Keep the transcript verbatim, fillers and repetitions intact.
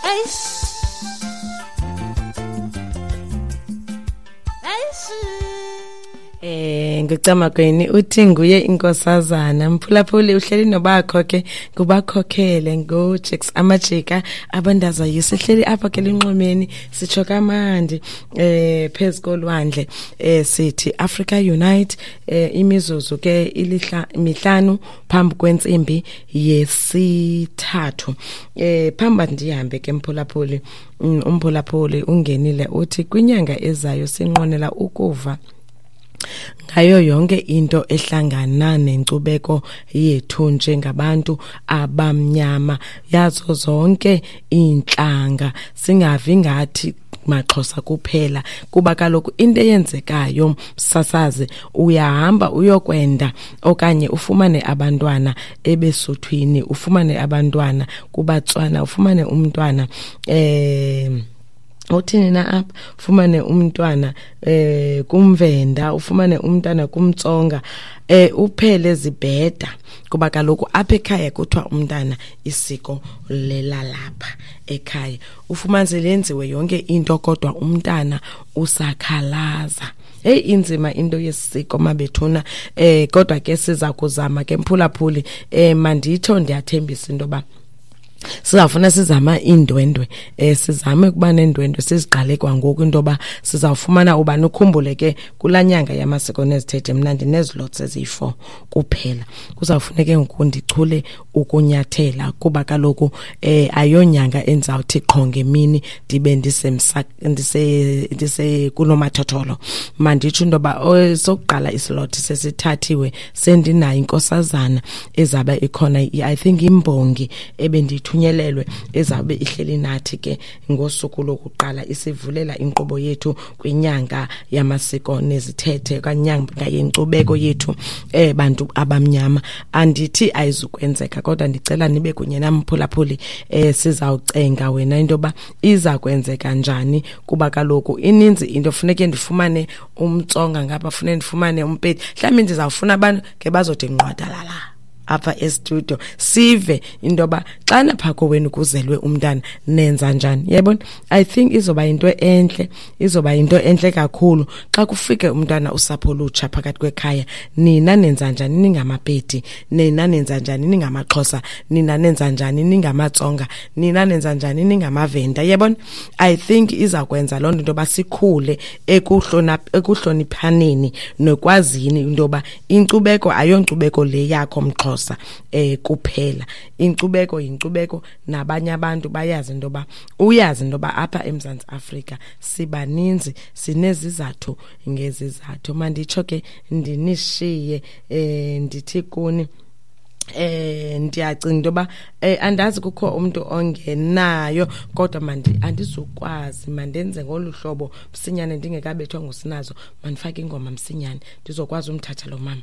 Eish. Eish. Eh nguCamagweni uthi nguye inkosazana mphulaphuli uhleli nobakho ke ngubakhokhele ngoJacks amajika abandaza yisehleli apha ke linxwemeni sitsho kamandi eh phezukolwandle eh sithi Africa Unite eh imizuzu ke ilihla mihlanu phambi kwentsimbi yesithathu. Eh phambi ndihambe ke mphulaphuli, umphulaphuli ungenile uthi kwinyanga ezayo sinqonela ukuva ngayo yonke into ehlangana nenkcubeko yethu njengabantu abamnyama yazo zonke inhlanga, singavi ngathi maXhosa kuphela, kuba kaloku into eyenzekayo msasazi uyahamba uyokwenda okanye ufumane abantwana ebesuthwini, ufumane abantwana kubaTswana, ufumane umntwana eh uthini na apha, ufumane umntwana eh kumVenda, ufumane umntwana kumTsonga, eh uphele zibheda, kuba kaloku apha ekhaya kuthiwa umntana isiko lelalapha ekhaya, ufumanise lenziwe yonke into kodwa umntana usakhalaza. Hey, inzima into yesiko mabethuna, eh kodwa ke siza kuzama ke mphulaphuli, eh manditsho ndiyathembisa into ba sizawufuna sizama iindwendwe, eh sizame ukuba neendwendwe siziqale kwangoku into yoba sizawufumana ubani. Ukhumbule ke kulaa nyanga yamasiko nezithethe mna ndinezilotsi eziyi-four kuphela, kuzawufuneke ngoku ndichule ukunyathela kuba kaloku eh ayonyanga endizawuthi qho ngemini ndibe ndisemsa ndise ndise kunomathotholo. Manditsho into yoba sokuqala isilothi sesithathiwe, sendinayo inkosazana ezabe ikhona, I think imbongi ebendithunyelelwe ezabe ihleli nathi ke ngosuku lokuqala isivulela inkqubo yethu kwinyanga yamasiko nezithethe kanyanga yenkcubeko yethu eh bantu abamnyama. Andithi ayizukwenzeka kodwa ndicela nibe kunye namphulaphuli, eh sizawucenga wena into yoba iza kwenzeka njani, kuba kaloku ininzi into funeke ndifumane umTsonga ngapha, funeke ndifumane uMpedi, mhlawumbi ndizawufuna abantu ke bazothi nqwadalala apha e-studio sive into yoba xana phaa kowenu kuzelwe umntana nenza njani. Yayibona, I think izoba yinto entle, izoba yinto entle kakhulu xa kufike umntana usapho olutsha phakathi kwekhaya, nina nenza njani ningamaPedi, nina nenza njani ningamaXhosa, nina nenza njani ningamaTsonga, nina nenza njani ningamaVenda. Yayibona, I think iza kwenza loo nto into yoba sikhule ekuhloniphaneni nokwazini into yoba inkcubeko ayonkcubeko le yakho mXhosa eh kuphela, inkcubeko yinkcubeko nabanye abantu bayazi into yoba uyazi into yoba apha eMzantsi Afrika sibaninzi sinezizathu ngezizathu. Manditsho ke ndinishiye eh ndithi kuni eh ndiyacinga into yoba eh andazi kukho umuntu ongenayo kodwa mandi andizukwazi, mandenze ngolu hlobo msinyane ndingekabethwa ngusinazo, mandifake ingoma msinyane ndizokwazi umthatha lo mama.